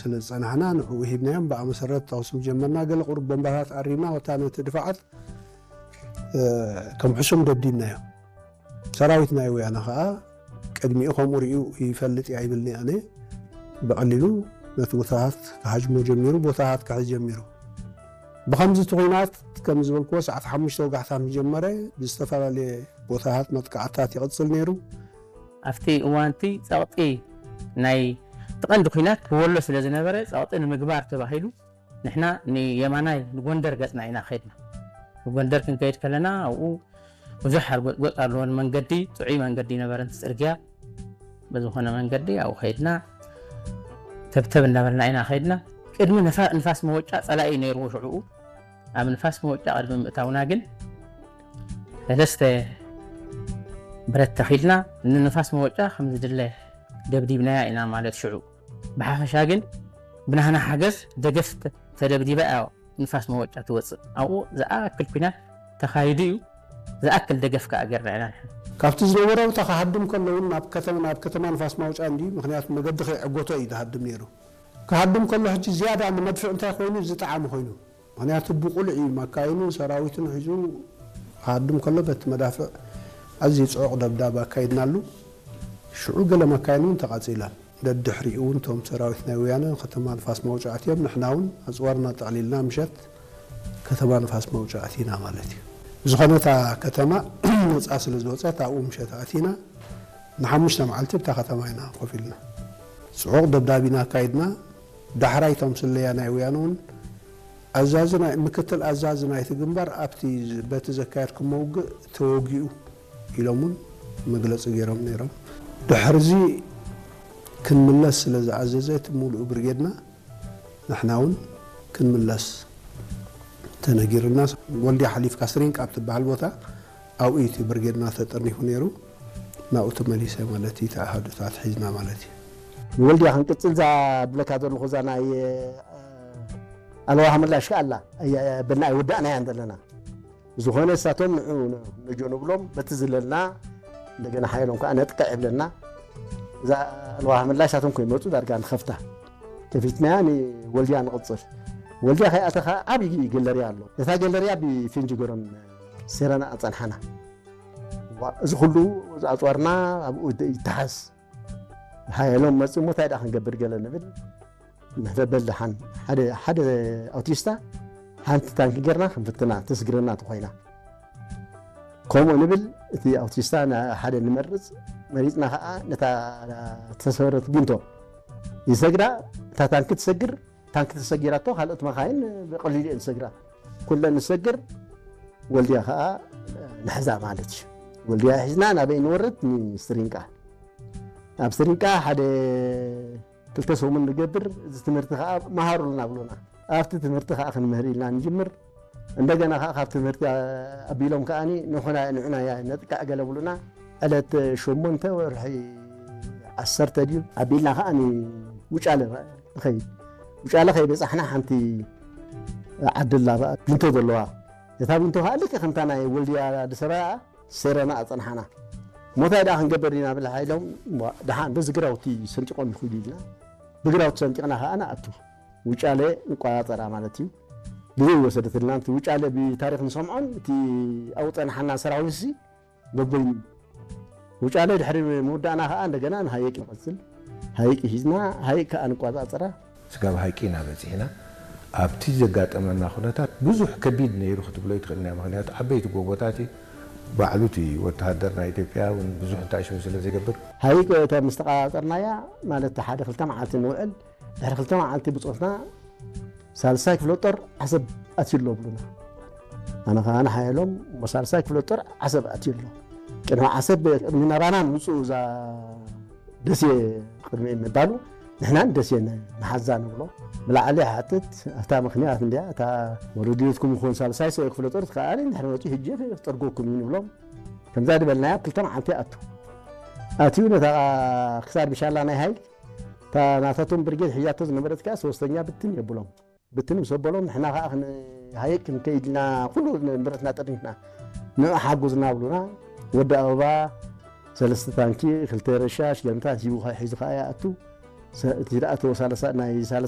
ስለ ዝጸናሕና ንዕኡ ሂብናዮም። ብኣ መሰረት ተኹሲ ጀመርና። ገለ ቁሩብ ቦምባታት ኣሪምና፣ ወታ ነቲ ድፋዓት፣ እ፣ ከም ሕሱም ደብዲብናዮ። ሰራዊት ናይ ወያነ ኸኣ ቅድሚኡ ከምኡ ርእዩ ይፈልጥ እየ ኣይብልን'የ ኣነ። ብቐሊሉ ነቲ ቦታታት ክሃጅሞ ጀሚሩ፣ ቦታታት ክሕዝ ጀሚሩ። ብኸምዚ እቲ ኹናት ከም ዝበልክዎ ሰዓት ሓሙሽተ ወጋሕታ ምስ ጀመረ ብዝተፈላለየ ቦታታት መጥቃዕትታት ይቕጽል ነይሩ። ኣብቲ እዋንቲ ጸቕጢ ናይ እቲ ቀንዲ ኹናት ብወሎ ስለ ዝነበረ ጸቕጢ ንምግባር ተባሂሉ ንሕና ንየማናይ ንጎንደር ገጽና ኢና ኸይድና። ንጎንደር ክንከይድ ከለና ኣብኡ ብዙሕ ሓርጎጽጎጽ ኣለዎ። ንመንገዲ ጥዑይ መንገዲ ነበረ፣ እቲ ጽርግያ በዝኾነ መንገዲ ኣብኡ ኸይድና ተብተብ እናበልና ኢና ኸይድና። ቅድሚ ንፋ-፣ ንፋስ መወጫ ጸላኢ ነይርዎ ሽዕኡ። ኣብ ንፋስ መወጫ ቅድሚ ምእታውና ግን ሰለስተ ብረት ተኺልና ንንፋስ መወጫ ከም ዝድለ ደብዲብናያ ኢና ማለት ሽዑ። ብሓፈሻ ግን ብናህና ሓገዝ ደገፍ ተ-፣ ተደብዲባ እያ ንፋስ መወጫ ትወፅእ። ኣብኡ ዝኣክል ኲናት ተኻይዱ እዩ። ዝኣክል ደገፍ ከኣ ጌርና ኢና ንሕና። ካብቲ ዝነበረ ቦታ ክሃድም ከሎ እውን ናብ ከተማ፣ ናብ ከተማ ንፋስ ማውጫ እንዲ፣ ምኽንያቱ መገዲ ከይዕጎቶ እዩ ዝሃድም ነይሩ። ክሃድም ከሎ ሕጂ ዝያዳ ንመድፍዕ እንታይ ኮይኑ ዝጠዓመ ኮይኑ። ምኽንያቱ ብቑልዕ እዩ መካይኑን ሰራዊቱን ሒዙ ክሃድም ከሎ በቲ መዳፍዕ ኣዝዩ ጽዑቕ ደብዳብ ኣካይድናሉ። ሽዑ ገለ መካይን እውን ተቓጺላ። ደድሕሪኡ እውን እቶም ሰራዊት ናይ ወያነ ከተማ ንፋስ ማውጫ ኣትዮም፣ ንሕና እውን ኣጽዋርና ጠቕሊልና ምሸት ከተማ ንፋስ ማውጫ ኣቲና ማለት እዩ። ብዝኾነ እታ ከተማ ነጻ ስለ ዝወጸት ኣብኡ ምሸት ኣቲና ንሓሙሽተ መዓልቲ ኣብታ ከተማ ኢና ኮፍ ኢልና። ጽዑቕ ደብዳብ ኢና ኣካይድና። ዳሕራይ እቶም ስለያ ናይ ወያነ እውን ኣዛዚ ናይ፣ ምክትል ኣዛዚ ናይቲ ግንባር ኣብቲ ዝ-፣ በቲ ዘካየድኩሞ ውግእ ተወጊኡ ኢሎም እውን መግለጺ ገይሮም ነይሮም። ድሕርዚ ክንምለስ ስለ ዝኣዘዘ እቲ ሙሉእ ብርጌድና ንሕና እውን ክንምለስ ተነጊርና። ወልድያ ሓሊፍካ ስሪንቃ ኣብ ትበሃል ቦታ ኣብኡ እቲ ብርጌድና ተጠርኒፉ ነይሩ። ናብኡ ተመሊሰ ማለት እዩ፣ እቲ ኣሃዱታት ሒዝና ማለት እዩ። ንወልድያ ክንቅጽል እዛ ድብለካ ዘለኹ እዛ ናይ፣ እ፣ ኣልዋህ ምላሽ ከኣ ኣላ። ኣየ-፣ በልና ኣይወዳእናያን ዘለና። ዝኾነ እሳቶም ንዑ ን-፣ ንጆ ንብሎም፣ በቲ ዝለልና እንደገና ሓየሎም ከኣ ነጥቅዕ ይብለና። እዛ ኣልዋህ ምላሽ እሳቶም ከይመጹ ዳርጋ ንኸፍታ። ከፊትናያ ንወልድያ ንቕጽል። ወልድያ ከይኣተኻ ዓብዪ ገለርያ ኣሎ። ነታ ገለርያ ብፌንጂ ገሮም ሴረና ኣጸንሓና። ዋ፣ እዚ ኩሉ ኣጽዋርና ኣብኡ ደ-፣ ይተሓዝ። ሓየሎም መጺኡ እሞ እንታይ ደኣ ክንገብር ገለ ንብል። ንሕፈ በል ደሓን። ሓደ፣ ሓደ ኣውቲስታ ሓንቲ ታንኪ ጌርና ክንፍትና፣ ተስግረና ተኾይና። ከምኡ ንብል፣ እቲ ኣውቲስታ ና-፣ ሓደ ንመርጽ፣ መሪጽና ኸኣ ነታ ተሰወረት ቢንቶ ይሰግራ፣ እታ ታንኪ ትሰግር፣ ታንኪ ተሰጊራቶ፣ ካልኦት መኻይን ብቐሊሉ እየን ዝሰግራ። ኩለን ንሰግር፣ ወልድያ ኸኣ ንሕዛ ማለት እዩ። ወልድያ ሒዝና ናበይ ንወርድ? ንስሪንቃ። ኣብ ስሪንቃ ሓደ ክልተ ሰሙን ንገብር፣ እዚ ትምህርቲ ኸኣ መሃሩልና ብሉና። ኣብቲ ትምህርቲ ኸኣ ክንምህር ኢልና ንጅምር። እንደገና ኸኣ ካብ ትምህርቲ ኣቢሎም ከኣ ንዑና፣ ንዑና ነጥቃዕ ገለ ብሉና። ዕለት ሸሞንተ ወርሒ ዓሰርተ ድዩ ኣቢልና ኸኣ ንውጫለ ንኸይድ። ውጫለ ከይበጻሕና ሓንቲ ዓዲ ኣላ ቢንቶ ዘለዋ። እታ ቢንቶ ኸኣ ልክዕ ከምታ ናይ ወልድያ ኣዲስ ኣበባ ሴረና ኣጸንሓና። ሞታይ ደኣ ክንገብር ኢና ብል ሓይሎም፣ እሞ ደሓን በዚ ግራውቲ ሰንጢቖም ይኽዱ ኢልና። ብግራውቲ ሰንጢቕና ኸኣ ንኣቱ። ውጫለ ንቆጻጸራ ማለት እዩ። ግዜ ይወሰደትልና። እቲ ውጫለ ብታሪኽ ንሰምዖን እቲ ኣብኡ ጸንሓና ሰራዊትሲ በበይኑ። ውጫለ ድሕሪ ምውዳእና ኸኣ እንደገና ንሃይቅ ንቐጽል። ሃይቅ ሒዝና፣ ሃይቅ ከኣ ንቆጻጸራ። ስጋብ ሃይቂ ኢና በጺሕና። ኣብቲ ዘጋጠመና ኩነታት ብዙሕ ከቢድ ነይሩ ክትብሎ ኣይትኽእልን እያ። ምኽንያቱ ዓበይቲ ጎቦታት እዩ። ባዕሉ እቲ ወተሃደር ናይ ኢትዮጵያ እውን ብዙሕ እንታይ ሽሙ ስለ ዘይገብር። ሃይቅ እታ ምስ ተቆጻጸርናያ፣ ማለት ሓደ ክልተ መዓልቲ ንውዕል፣ ድሕሪ ክልተ መዓልቲ ብጾትና ሳልሳይ ክፍለ ጦር ዓሰብ ኣትዩ ኣሎ ብሉና። ኣነ ኸኣ ንሓየሎም፣ እሞ ሳልሳይ ክፍለ ጦር ዓሰብ ኣትዩ ኣሎ። ቅድሚ ዓሰብ፣ ቅድሚ ናባና ምውጽኡ እዛ ደሴ ቅድሚ ምባሉ ንሕና ንደሴ ን-፣ ንሓዛ ንብሎ። ብላዕሊ ይሓትት፣ እታ ምኽንያት እንድያ፣ እታ ወረድዮትኩም ይኹን ሳልሳይ ሰው ክፍለ ጦር ትከኣሊ፣ እንድሕር መጺኡ ሕጂ ክጠርጎኩም እዩ ንብሎም። ከምዛ ዝበልናያ ክልተ መዓልቲ ኣቱ። ኣትዩ ነታ ክሳድ ብሻላ ናይ ሃይቅ፣ እታ ናታቶም ብርጌድ ሒዛቶ ዝነበረት ከኣ ሶስተኛ ብትን የብሎም። ብትን ምስ ኣበሎም ንሕና ከኣ ክን-፣ ሃይቅ ክንከይድ ኢልና ኩሉ ንብረትና ጠርኒፍና። ንዑ ሓጉዝና ብሉና። ወዲ ኣበባ ሰለስተ ታንኪ፣ ክልተ ረሻሽ፣ ገምታት ሂቡ ከ-፣ ሒዙ ከኣ ይኣቱ። ሰ-፣ እቲ ዝኣተወ ሳልሳ-፣ ናይ ሳልሳ